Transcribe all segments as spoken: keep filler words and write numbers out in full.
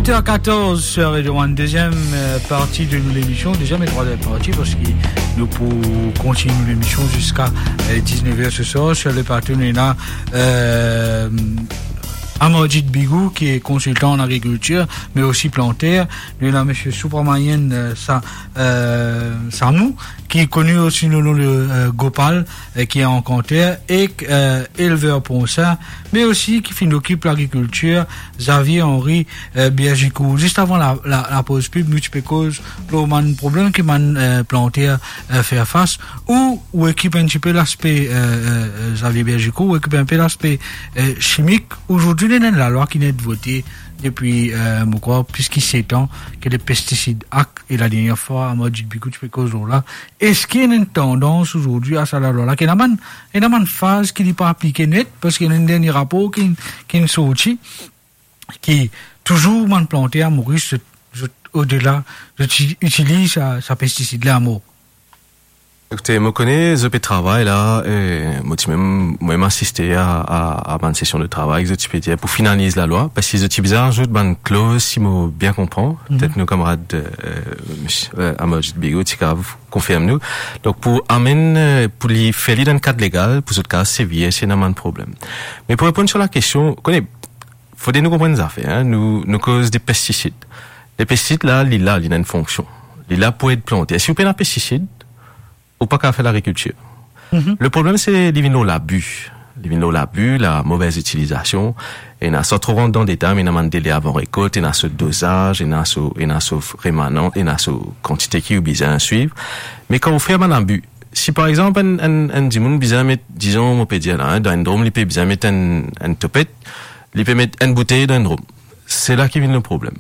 Dix heures quatorze sur Radio One, deuxième, euh, partie de nou lemision, deuxième et troisième partie, parski nou pou kontign nou lemision ziska, euh, dix-neuf heures ce soir. Sur le plateau, nou ena, euh, Amarjit Bigou, ki est consultant en agriculture, mais aussi planteur. Nou ena Monsieur Subramanian, euh, Sa-, euh, Samou, ki est connu aussi sous le nom de, euh, Gopal, euh, qui est encantère, et, euh, éleveur porcin, mais aussi qui fait, s'occupe de l'agriculture, Xavier Henry, euh, Bergicourt. Zis avan la, la, la poz pib, nou ti pe koz lor bann problem ki bann, euh, planter, euh, fer fas, ou, ou ekip enn tipe laspe, euh, euh, euh, Xavier Bergicourt, ou ekip enn pe laspe, euh, chimik. Azordi, ena enn lalwa ki inn vote depi, euh, mo krwar, plis ki set an, ki le Pesticide Act, e la dernie fwa, Amarjit Bigou ti pe koz lor la. Eski ena enn tandans azordi a sa lalwa la, ki ena bann, ena bann faz ki li pa aplike net, parski ena enn dernie rapor ki, ki inn sorti, ki touzour bann planter a Moris, zot, zot odela, zot ti-, itiliz sa, sa pestisid la amor. Ekoute, mo kone zot pe travay la, e mo ti mem, mo mem asiste a, a, a bann sesion de travay, zot ti pe dir pou finaliz lalwa, parski zot ti bizin azout bann kloz, si mo bien konpran. Mhm. Petet nou kamarad, e, misie, e, Amarjit Bigou ti kav konfirm nou. Donk, pou amenn, e, pou li fer li dan kad legal, pou zot kav servi si ena bann problem. Me pou reponn sir la kestion, kone, fode nou konprann zafer, en, nou, nou koz de pestisid. Le pestisid la, li la, li ena enn fonksion. Li la pou ed planter. Si ou pena pestisid, ou pa kav fer lagrikiltir. Mhm. Le problem, se li vinn lor labi. Li vinn lor labi, la mauvaise utilisation. Ena, san tro rant dan detay, me ena bann dele avan rekolt, ena so dozaz, ena so, ena so remanan, ena so kantite ki ou bizin swiv. Me kan ou fer bann abi, si par exanp enn, enn, enn dimoun bizin met, dizon, mo pe dir la, en, dan enn drom, li pe bizin met enn, enn topet, li pe met enn boutey dan enn drom. Se la ki vinn le problem.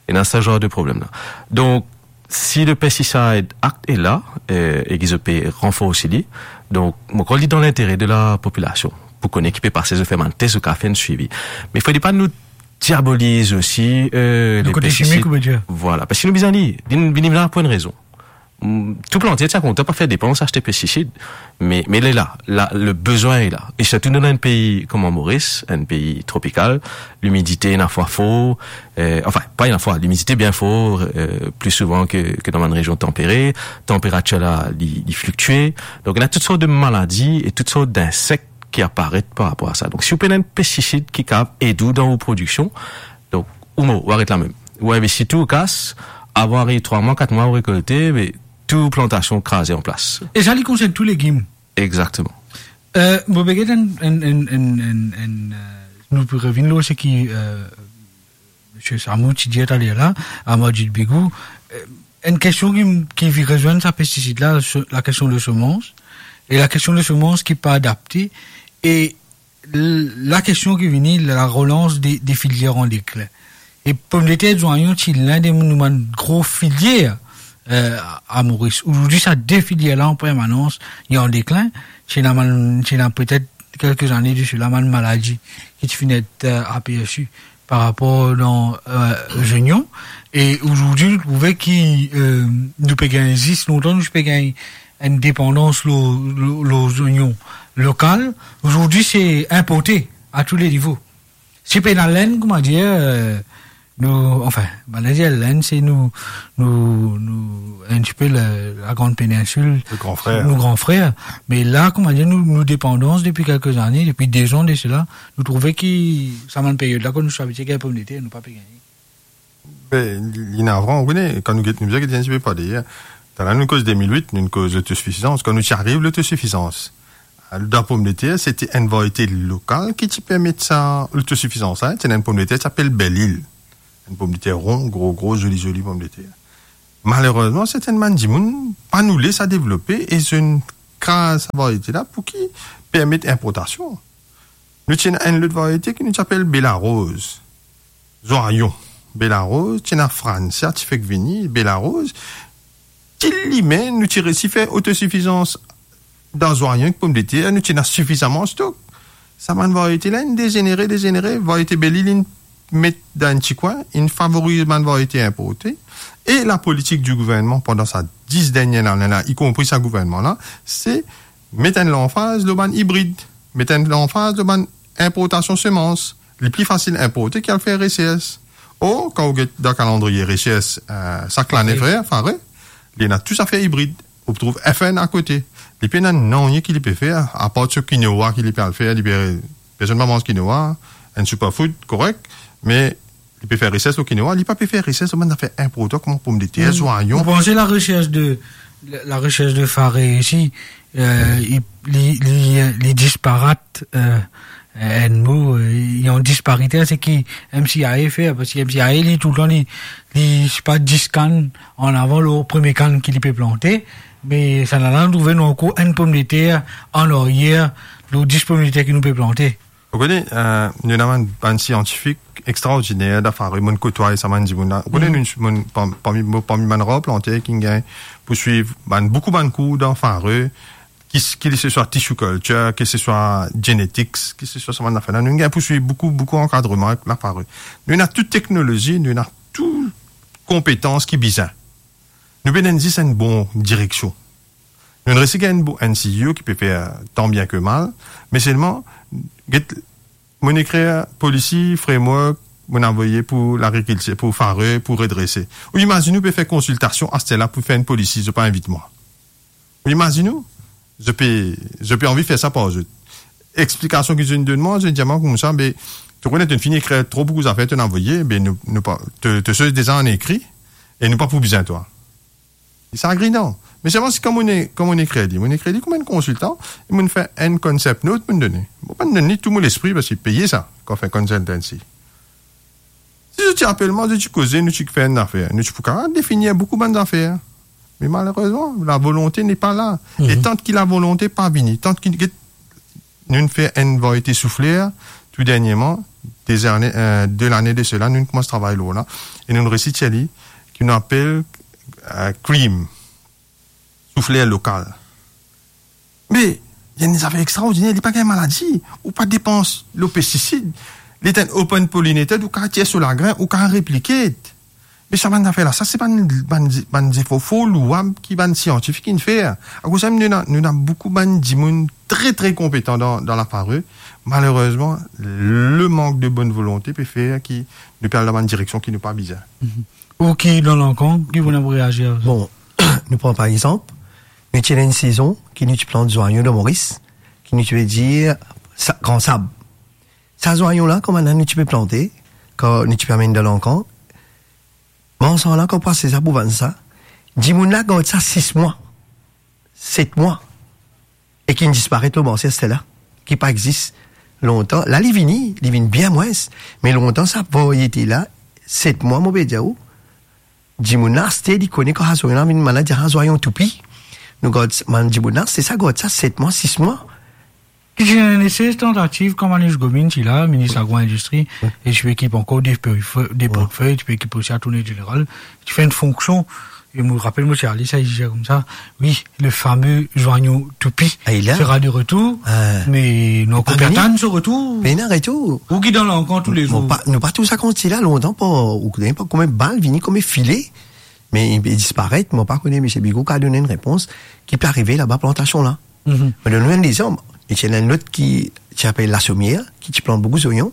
Ena sa zanr de problem la. Donk, si le Pesticide Act est là, e, e ki zot pe ranforsi li, donk, mo krwar li dan lintere de lapopilasion, pou kone ki pe pase, zot fer bann tes, zot kav fer enn swivi. Me fode pa nou diaboliz osi, e, le kote pestisid. Chimik, ou ve dir? Vwala, parski nou bizin li, li, li la pou enn rezon. Mm, tou planter ti a kontan pa fer depans aste pestisid, me, me li la, la, le bizin li la. E sirtou nou dan enn pei kouma Moris, enn pei tropikal, limidite ena fwa for, e, anfin, pa ena fwa, limidite bien for, e, pli souvan ke, ke dan bann rezion tanpere, tanperatir la, li, li fliktue. Donk, ena tout sort de maladi e tout sort dinsek ki aparet par rapor a sa. Donk, si ou pena enn pestisid ki kav ed ou dan ou prodiksion, donk, ou mor, ou aret la mem. Ou investi tou, ou kas, avan ariv trwa mwa, kat mwa, ou rekolte, me tou plantasion kraze an plas. E sa, li konsern tou legim? Exakteman. E, mo pe get enn, enn, enn, enn, enn, enn, e, nou pou revinn lor seki, e, Misie Samou ti dir taler la, Amarjit Bigou, e, enn kestion ki, ki vinn rezwenn sa pestisid la, se, la kestion de semans, e la kestion de semans ki pa adapte, e l-, la kestion ki vini, la relans de, de filier an deklin. E pomdeter, zwayon, ti linn de nou bann gro filier, e, a Moris. Azordi, sa de filier la an permanans, li an deklin. Ti ena bann, ti ena petet kelke zane de sela, bann maladi ki ti finn et, e, apersi par rapor dan, e, zonion. E azordi, nou trouve ki, e, nou pe gagn zis, lontan nou ti pe gagn enn depandans lor, lor, lor zonion lokal. Azordi, se inporte a tou le nivo. Si pena lenn, kouma dir, e, nou, anfin, bann dir lenn, se nou, nou, nou, enn tipe la, la Grande Péninsule, le gran frer. Nou gran frer. Me la, kouma dir, nou, nou depandans depi kelke zane, depi de zan de sela, nou trouve ki sa bann period la, kan nou ti abitie gagn pomdeter, nou pa pe gagne. Be, li, li navran, ou kone, kan nou get, nou bizin get enn tipe par deryer. Talè nou koz de mil wit, nou koz lotosifizans. Kan nou ti ariv lotosifizans, dan pomdeter, se ti enn variete lokal ki ti permet sa lotosifizans la, en. Ti ena enn pomdeter ki apel Belle Île. Enn pomdeter ron, gro, gro, zoli, zoli pomdeter. Malerezman, sertin bann dimoun pa nou les sa devlope e zot inn kraz sa variete la pou ki permet inportasion. Nou ti ena enn lot variete ki nou ti apel Bela Roz. Zwayon. Bela Roz, ti ena Fransia ti fek vini, Bela Roz. Ti lime, nou ti resi fer otosifizans dan zwayon ek pomdeter, nou ti ena sifizaman stok. Sa bann variete la, inn dezenere, dezenere, variete Belle Île inn met dan enn ti kwin, inn favoriz bann variete inporte. E lapolitik di gouvernman pandan sa dis dernie lane la, ikonpri sa gouvernman la, se met enn lanfaz lor bann ibrid, met enn lanfaz lor bann inportasion semans. Li pli fasil inporte ki al fer resers. Or, kan ou get dan kalandriye resers, eh, sak lane, frer, fare, li ena tou zafer ibrid. Ou trouv F N akote. Li pena nanye ki li pe fer, apar so kinoa ki li pe al fer, li pe, personn pa manz kinoa, enn superfood, korek, me li pe fer resers lor kinoa, li pa pe fer resers lor bann zafer inportan kouma pomdeter, zwayon. Vous pensez la recherche de, la, la recherche de Faré ici, euh, il, li, li, li disparat, euh, enn mo, euh, il y a une disparité, c'est qui M C I A fait, parce que M C I A, li, toultan, li, li, se pa dis kann an avan, lor premie kann ki li pe plante, me sa la, la, nou trouve nou ankor enn pomdeter an aryer, lor dis pomdeter ki nou pe plante. Ou kone, eh, nou ena bann, bann siantifik extraordiner dan Fare, monn kotway sa bann dimoun la. Ou kone, nou, monn, parmi, parmi bann rar planter ki gagn pou swiv bann, boukou bann kour dan Fare, ki, ki se swa tissue culture, ki se swa genetics, ki se swa sa bann zafer la. Nou gagn pou swiv boukou, boukou ankadreman avek la Fare. Nou ena tou teknolozi, nou ena tou konpetans ki bizin. Nou bizin zis enn bon direksion. Nou resi gagn enn bo-, enn C E O ki pe fer tan bien ke mal, me selman, get, monn ekrir polisi, framework, monn avoye pou lagrikiltir, pou Fare, pou redrese. Ou imazinn ou pe fer konsiltasion aster la pou fer enn polisi, zot pa invit mwa. Ou imazinn ou? Zot pe, zot pe anvi fer sa par zot. Explikasion ki zot donn mwa, zot dir mwa koumsa, be, to kone, to'nn fini ekrir tro boukou zafer, to'nn avoye, be, nou, nou pa, to, to soz deza an ekri, e nou pa pou bizin twa. Sa agrinan. Me selman si kan monn, kan monn ekrir li, monn ekrir li kouma enn konsiltan, e monn fer enn concept note, monn done. Mo pa'nn donn li tou mo lespri, parski peye sa, kan fer consultancy. Si zot ti apel mwa, zot ti koze, nou ti fer enn zafer, nou ti pou kapav definir boukou bann zafer. Me malerezman, la volonte n'est pas là. E tant ki la volonte pa vini, tant ki, get, nou fer enn variete soufler, tou dernieman, de lane, eh, de lane de sela, nou koumans travay lor la, e nou resi tir li, ki nou apel, eh, cream, soufler lokal. Me, li enn zafer extraordiner, li pa gagn maladi, ou pa depans lor pestisid, li enn open pollinated, ou kapav tir so lagrin, ou kapav replike. Me sa bann zafer la, sa se bann, bann, bann zefor for louab ki bann siantifik inn fer. Akoz sa, nou ena, nou ena boukou bann dimoun tre, tre konpetan dan, dan la Fare. Malerezman, le mank de bonn volonte pe fer ki nou pe al dan bann direksion ki nou pa bizin. Ou ki dan Lankan, ki pou reazir? Bon, nou pran par exanp, nou ti ena enn sezon ki nou ti plant zwayon dan Moris, ki nou ti pe dir sa, gran sab. Sa zwayon la, kouma nou ti pe plante, kan nou ti pe amenn dan Lankan, mansan la, kan pase sa pou vann sa, dimoun la gard sa sis mwa, set mwa, e ki inn disparet lor marse aster la, ki pa exis lontan. La, li vini, li vinn bien mwins, me lontan, sa variete la, set mwa, mo pe dir ou, dimoun la aste, li kone kan sa zwayon la vinn, bann la dir sa zwayon toupi. Nou gard, bann dimoun la, se sa, gard sa set mwa, sis mwa. Ki ti ena enn seri tantativ kan Manoush Gomin ti la, minis agro-indistri, e ti pe ekip ankor Dépôt de Feuilles, ti pe ekip osi Attorney General, ti fer enn fonksion, e mo rapel mo ti ale sa, li dir koumsa, wi, le fameux zwayon toupi sera de retour, me nou ankor pe atann so retour. Pena retour. Ou ki dan Lankan toulezour. Bon, pa, nou pa tou sa kan ti la lontan, pa, ou kone pa kouma bal vini kouma file, me li pe disparet, mo pa kone, misie Bigot kapav donn enn repons, ki pe arive laba plantasion la. Mo donn ou enn lexanp, e ti ena enn lot ki ti apel Lasomier, ki ti plant boukou zoyon.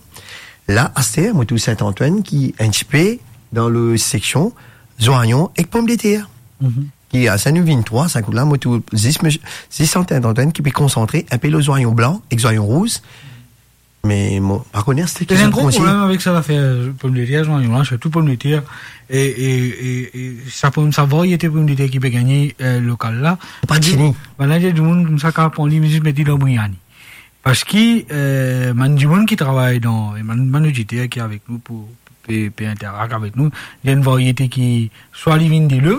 La, aster, mo trouv Saint-Antoine ki enn tipe dan le seksion zwayon ek pomdeter. Ki, aster nou vinn trwa, sink la, mo trouv zis, zis Saint-Antoine ki pe konsantre enpe lor zwayon blan ek zwayon rouz. Me mo pa kone aster ki zot konsign. Ena enn gro problem avek sa zafer pomdeter, zwayon la, sirtou pomdeter, e, e, e, e sa pom, sa variete pomdeter ki pe gagne, eh, lokal la. Pa tini. Bann la, dimoun koumsa kapav pran li, zis met li dan briani. Parski, eh, bann dimoun ki travay dan, e bann, bann oditer ki avek nou pou, pe, pe interak avek nou, li enn variete ki, swa li vinn delo,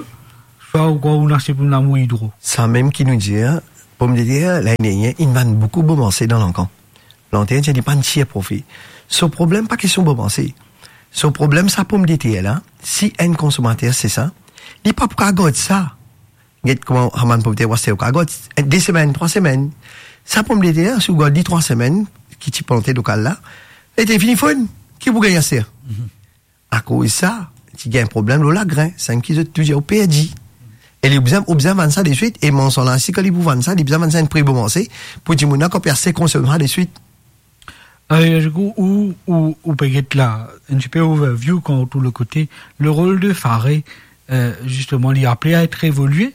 swa ou krwar ou aste pou lamour idro. Sa mem ki nou dir, pomdeter, lane dernier, inn vann boukou bomanse dan Lankan. Lanter dir li pa'nn tir profi. So problem pa kestion bomanse. So problem, sa pomdeter la, si enn konsomater se sa, li pa pou kapav gard sa. Get kouma sa bann pomdeter, ou aste ou kapav gard, de semenn, trwa semenn. Sa pomdeter, si ou gard li trwa semenn, ki ti plante lokal la, li ete fini fonn, ki pou gagn aster? Akoz sa, ti gagn problem lor lagrin, seki zot touzour perdi. E li bizin, ou bizin vann sa deswit, e mansan la, si kan li pou vann sa, li bizin vann sa enn pri bomanse, pou dimoun la kan pe aste konsom sa deswit. Euh, du coup, ou, ou, ou pe get la, un petit peu overview kan ou tou le kote, le rol de Fare, euh, zisteman, li aple a et evolie,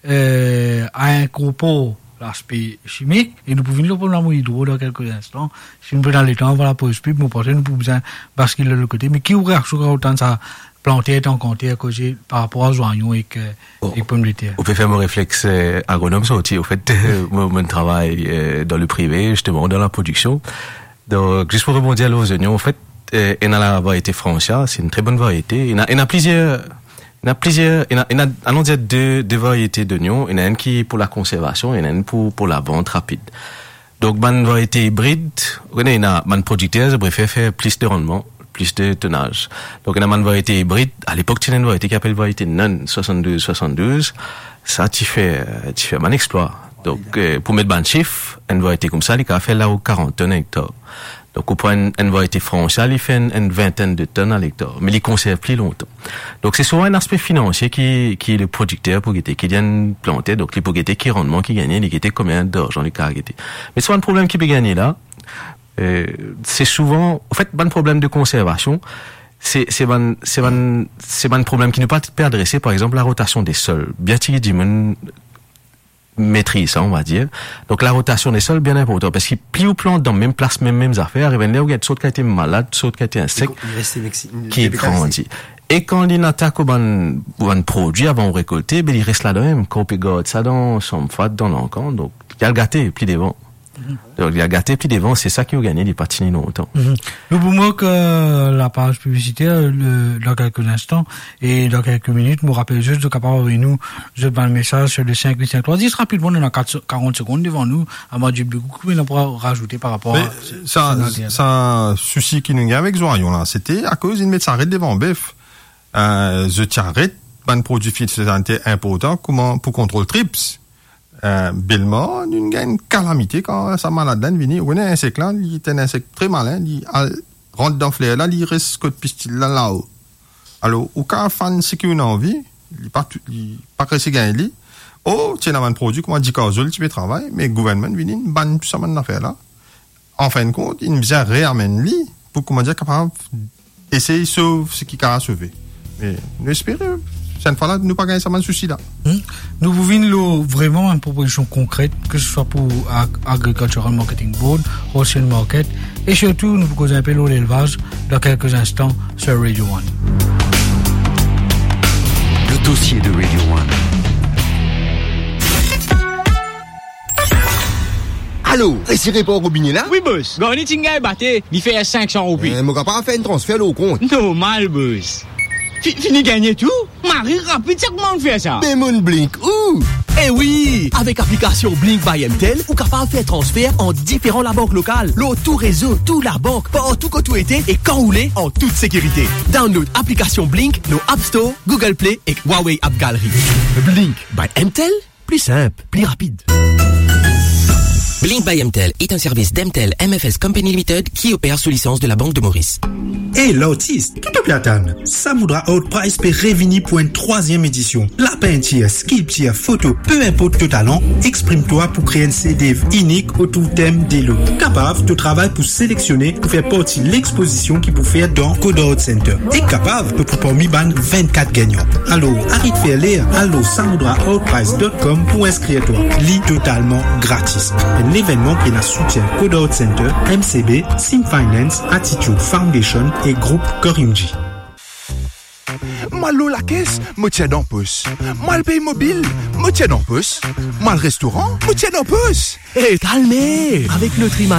euh, a inkorpor laspe simik, e nou pou vinn lor problem lamour idro dan kelke instan. Si nou pe dan letan, avan lapoz pib, mo panse nou pou bizin baskil lor le kote. Me ki ou reaksion kan ou tann sa planter, tann kanter, koze par rapor a zwayon ek, euh, Bon, ek pomdeter. Ou pe fer mo reflex, euh, agronom sorti. Anfet, mo, mo travay, euh, dan le prive, zisteman, dan laprodiksion. Donk, zis pou rebondi lor zonion, anfet, euh, ena lavariete Francia, se enn tre bonn variete. Ena, ena plizier, ena plizier, ena, ena, alon dir de, de variete zonion. Ena enn ki pou lakonservasion, ena enn pou, pou lavant rapid. Donk, bann variete ibrid, ou kone, ena bann prodikter, zot prefer fer plis de rannman, plis de tonaz. Donk, ena bann variete ibrid, alepok, ti ena enn variete ki apel variete Nan, swasann-douz swasann-douz, sa ti fer, ti fer bann explwa. Donk, euh, pou met bann sif, enn variete koumsa, li kapav fer lao karant tonn hektar. Donk, ou pran enn, enn variete Francia, li fer enn, enn vintenn de tonn a lektar, me li konserv pli lontan. Donk, se souvan enn aspe finansie ki, ki le prodikter pou gete, ki dir enn planter, donk li pou gete ki rannman ki gagne, li gete konbien larzan li kapav gete. Me se pa enn problem ki pe gagne la, euh, se souvan, anfet, bann problem de konservasion, se, se bann, se bann, se bann problem ki nou pa pe adrese, par exanp, larotasion de sol. Bien tigit dimoun metriz sa, on va dir. Donk, larotasion de sol, bien inportan, parski pli ou plant dan mem plas, mem, mem zafer, ariv enn ler ou gagn sort kalite malad, sort kalite insek ki grandi. E kan li atak ou bann, bann prodwi avan ou rekolte, be li res ladan mem. Kan ou pe gard sa dan sanm fat, dan lankan, donk, li al gate pli devan. Donk, li al gate pli devan, se sa ki ou gagne, li pa tini lontan. Nou pou mok lapaz piblisiter, le, dan kelke instan, e dan kelke minit, mo rapel zis, zot kapav avoy nou zot bann mesaz sur le cinq huit cinq trois. Zis rapidman, nou ena kat, karant segonn devan nou, avan dir boukou, ki ena pou razoute par rapor a sa, sa sousi ki nou gagne avek zwayon la, sete akoz inn met saret devan bef. Euh, zot ti aret bann prodwi fitosaniter inportan, kouma pou kontrol trips. Euh, belman, nou gagn enn kalamite kan sa malad la inn vini. Ou kone insek la, li enn insek tre malin, li al rant dan fler la, li res kot pistil la, lao. Alor, ou kapav fann seki ou ena anvi, li pa tou, li pa res gagn li. O, ti ena bann prodwi kouma dikazol ti pe travay, me gouvernman vini, inn bann tou sa bann zafer la. Anfinn kont, inn bizin reamenn li pou, kouma dir, kapav esey sov seki kapav sove. Me nou espere, sa enn fwa la, nou pa gagn sa bann sousi la. Hmm. Nou pou vinn lor vreman bann propozision konkret, ke se swa pou Ag-, Agricultural Marketing Board, Wholesale Market, e sirtou, nou pou koz inpe lor lelvaz dan kelke instan sur Radio One. Le dossier de Radio One. Alo, resi repar robine la? Wi, bos. Garni ti gagn bate, li fer sink san roupi. Eh, mo kapav fer enn transfer lor ou kont? Normal, bos. Fi-, fini gagne tou? Mari rapid sa, kouma ou fer sa? Be mo'nn Blink ou? Eh wi, avek aplikasion Blink by M T L, ou kapav fer transfer ant diferan labank lokal, lor tou rezo, tou labank, partou kot ou ete e kan ou le, an tout sekirite. Download aplikasion Blink lor App Store, Google Play ek Huawei App Gallery. Blink by M T L, pli sinp, pli rapid. Blink by M T L est un service d'M T L M F S Company Limited qui opère sous licence de la Banque de Maurice. Hey, lartis, ki to pe atann? Samudra Art Prize pe revini pou enn trwaziem edision. Lapintir, skilptir, foto, pe inport to talan, exprim twa pou kree enn chef-d'œuvre inik otour tem delo. Kapav to travay pou selektione pou fer parti lexpozision ki pou fer dan Code Art Center. E kapav to pou parmi bann vennkat gagnan. Alor, aret fer ler, al lor samudra art prize dot com pou inskrir twa. Li totalman gratis. Enn levennman ki ena soutien Code Art Center, M C B, Sim Finance, Attitude Foundation e group Korimji. Mo al lor lakes, mo tir dan pos. Mo al pey mo bil, mo tir dan pos. Mo al restoran, mo tir dan pos. Hey, kalme! Avek Lotri My